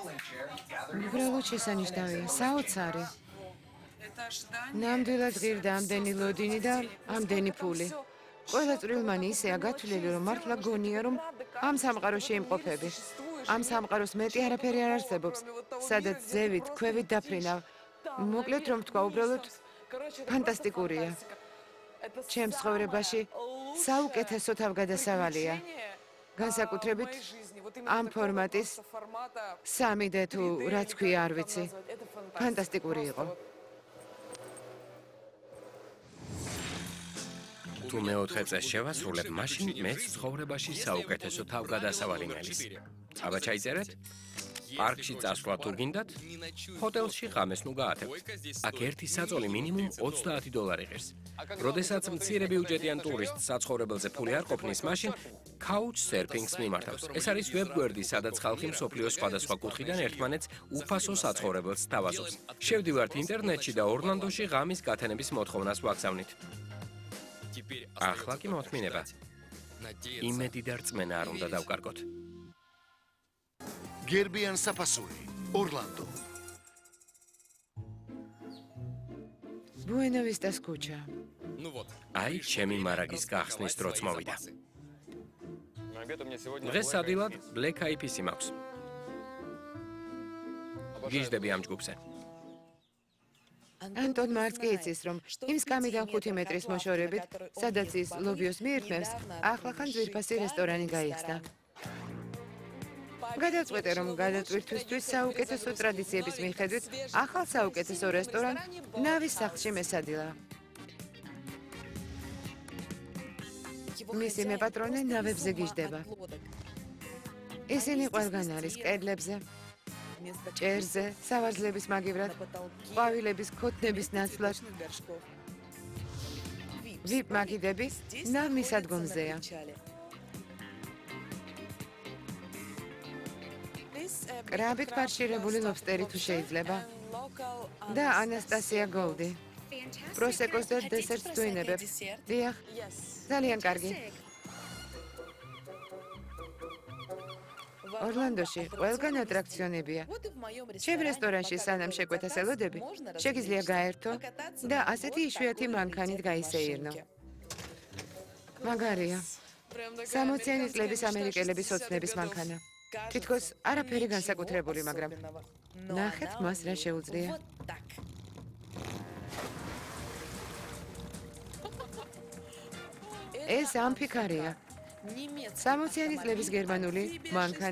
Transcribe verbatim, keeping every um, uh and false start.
უბრალოდ შესანიშნავია, საოცარი. ნამდვილად ღირდა ამდენი ლოდინი და ამდენი ფული. ყველა წვრილმანი ისეა გათვლილი, რომ მართლა გონია, რომ ამ სამყაროში იმყოფები. ამ სამყაროს მეტი არაფერი არ არსებობს, სადაც ზევით, ქვევით დაფრინავ. მოკლედ რომ თქვა, უბრალოდ ფანტასტიკურია. ჩემს ცხოვრებაში საუკეთესო თავგადასავალია. განსაკუთრებით ამ ფორმატის სამი დე თუ რაც ქვია არ ვიცი. ფანტასტიკური იყო. თუ მეოთხე წელს შევასრულებ, მაშინ მეც ცხოვრებაში საუკეთესო თავგადასავალი მელის. აბა ჩაიწერეთ? პარკში წასვლა თუ გინდათ, ჰოტელში ღამეს ნუ გაათევთ. აქ ერთი საწოლი მინიმუმ ოცდაათი დოლარი ღირს. როდესაც მცირე ბიუჯეტიან ტურისტს საცხოვრებელზე ფული არ ყოფნის, მაშინ couch surfing-ს მიმართავს. ეს არის ვებგვერდი, სადაც ხალხი მსოფლიოს სხვადასხვა კუთხიდან ერთმანეთს უფასო საცხოვრებელს სთავაზობს. შევდივართ ინტერნეტში და ორლანდოში ღამის გათენების მოთხოვნას ვაგზავნით. ახლა კი მოთმინება. იმედი და რწმენა არ უნდა დავკარგოთ. გერბიან საფასური, ორლანდო. Buena Vistas kუჩა. აი, ჩემი მარაგის გახსნის დროც მოვიდა. დღეს ადვილად Black Eyed Peas-ი მაქვს. გიჟდები ამ ჯგუფზე. ანტონ მარც კი იცის, რომ იმ სკამიდან ხუთი მეტრის მოშორებით, სადაც ის ლობიოს მიირთმევს, ახლახან ძვირფასი რესტორანი გაიხსნა. გადავწყვეტე, რომ გადაწყვეტისთვის საუკეთესო ტრადიციების მიხედვით, ახალ საუკეთესო რესტორან ნავის სახლში მესადილა. მისი მეპატრონე ნავებზე გიждდება. ისინი ყველგან არის კედლებზე, ჭერზე, სავარძლების მაგივრად, ყვავილების ქოთნების ნაცვლად. ვიპ მაგიდები ნავმის ადგომზეა. კრაბით ფარშირებული ლობსტერი თუ შეიძლება. და ანასტასია გოლდი. პროსეკოს და დესერტს თუ ინებებ. დიახ, ძალიან კარგი. ორლანდოში ყველგან ატრაქციონებია. ჩემ რესტორანში სანამ შეკვეთას ელოდები, შეგიძლია გაერთო და ასეთი იშვიათი მანქანით გაისეირნო. მაგარია. სამოციანი წლების ამერიკელების ოცნების მანქანა. თითქოს არაფერი განსაკუთრებული, მაგრამ ნახეთ მას რა შეუძლია. ეს ამფიქარია. სამოციანი წლების გერმანული მანქანა